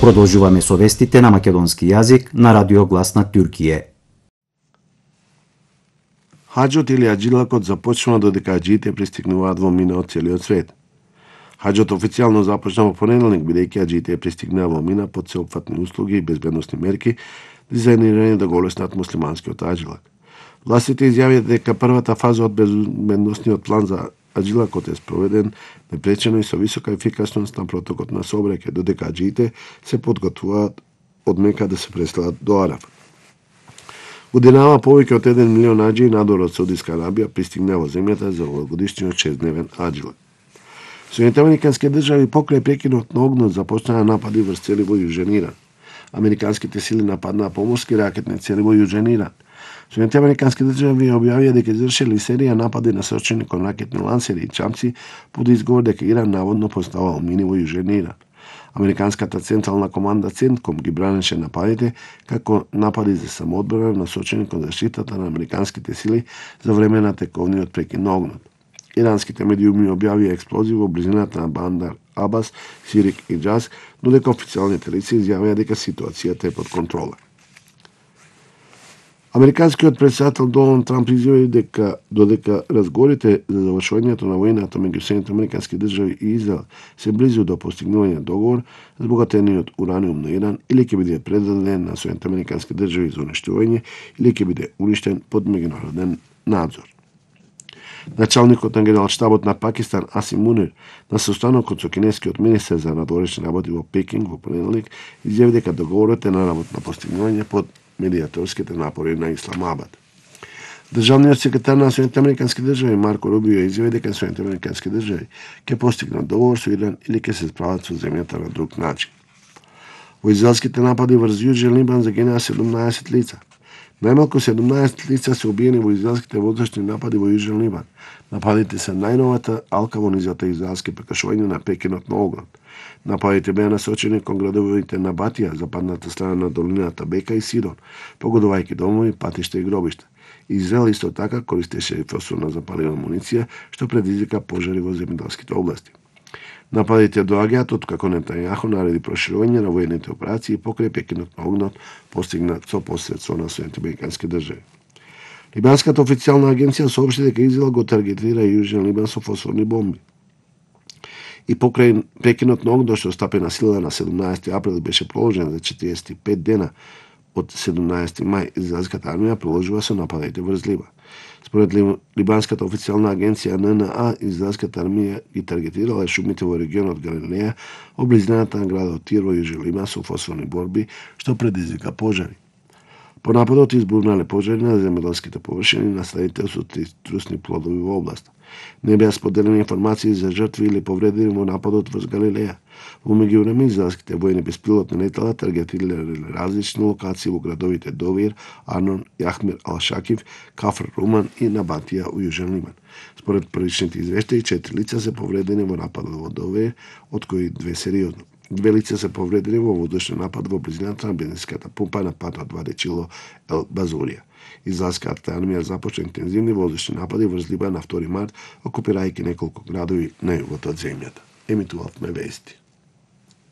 Продолжуваме со вестите на македонски јазик на Радио Глас на Туркије. Хаџот или аџилакот започнува додека аџиите пристигнуваат во Мина од целиот свет. Хаџот официјално започна во понеделник, бидејќи аџиите пристигнаа во Мина под сеопфатни услуги и безбедносни мерки, дизајнирани да го олеснат муслиманскиот аџилак. Властите изјавија дека првата фаза од безбедносниот план за аџилакот е спроведен непречено и со висока ефикасност на протокот на сообраќај, додека аџиите се подготвуваат од Мека да се преселат до Арафат. Годинава повеќе од 1 милион аџии надвор од Саудиска Арабија пристигна во земјата за овогодишниот 6-дневен аџилак. Соединетите американски држави покрај прекинот на огнот започнаа напади врз цели во Јужен Иран. Американските сили нападнаа поморски ракетни цели во Јужен Иран. Соединетите американски држави објавија дека извршиле серија напади насочени кон ракетни лансери и чамци под изговор дека Иран наводно поставал мини во Јужен Иран. Американската централна команда Центком ги бранеше нападите како напади за самоодбрана насочени кон заштитата на американските сили за време на тековниот прекин на огнот. Иранските медиуми објавија експлозии во близината на Бандар Абас, Сирик и Џаз, додека официјалните лица изјавија дека ситуацијата е под контрола. Американскиот претседател Доналд Трамп изјави дека додека разговорите за завршувањето на војната меѓу Соединетите американски држави и Израел се близу до постигнување договор, збогатениот ураниум на Иран или ќе биде предаден на Соединетите американски држави за уништување или ќе биде уништен под меѓународен надзор. Началникот на генералштабот на Пакистан Асим Мунир на состанокот со кинескиот министер за надворешни работи во Пекинг во понеделник изјави дека договорот е на работно постигнување под медиаторските напори на Исламабад. Државниот секретар на Соединетите американски држави Марко Рубио изјави дека Соединетите американски држави ќе постигнат договор со Иран или ќе се справат со земјата на друг начин. Во израелските напади врз Јужен Либан загинаа 17 лица. Најмалку 17 лица се убиени во израелските воздушни напади во Јужен Либан. Нападите се најновата алка во низата израелски прекашување на прекинот на огнот. Нападите беа насочени кон градовите на Батија, западната страна на долината Бека и Сидон, погодувајќи домови, патишта и гробишта. Израел исто така користеше фосфорна запалена амуниција, што предизвика пожари во земјоделските области. Нападите доаѓаат откако Нетањаху нареди проширување на воените операции покрај прекинот на огнот постигнат со посредство на Соединетите американски држави. Либанската официјална агенција соопшти дека Израел го таргетира Јужен Либан со фосфорни бомби. И покрај прекинот на огнот што стапи на сила на 17 април беше проложен за 45 дена од 17 мај, израелската армија продолжува со нападите врз Либан. Според либанската официјална агенција ННА, израелската армија ги таргетирала шумите во регионот Галилеја, во близината на градот Тир во Јужен Либан со фосфорни борби, што предизвика пожари. По нападот избурнале пожари на земјоделските површини на стадите со трусни плодови во област. Не беа споделени информации за жртви или повредени во нападот врз Галилеја. Во меѓувреме, израелските воени беспилотни летала таргетирале различни локации во градовите Довир, Арнон, Јахмер Ал-Шакив, Кафр Руман и Набатија во Јужен Либан. Според првичните извештаи, 4 лица се повредени во нападот во Довир, од кои 2 сериозно. 2 лица се повредени во воздушен напад во близината на бензинската пумпа на патот Вадичило Ел Базурија. Израелската армија започна интензивни воздушни напади врз Либан на 2 март, окупирајќи неколку градови на југот од земјата. Емитувавме вести.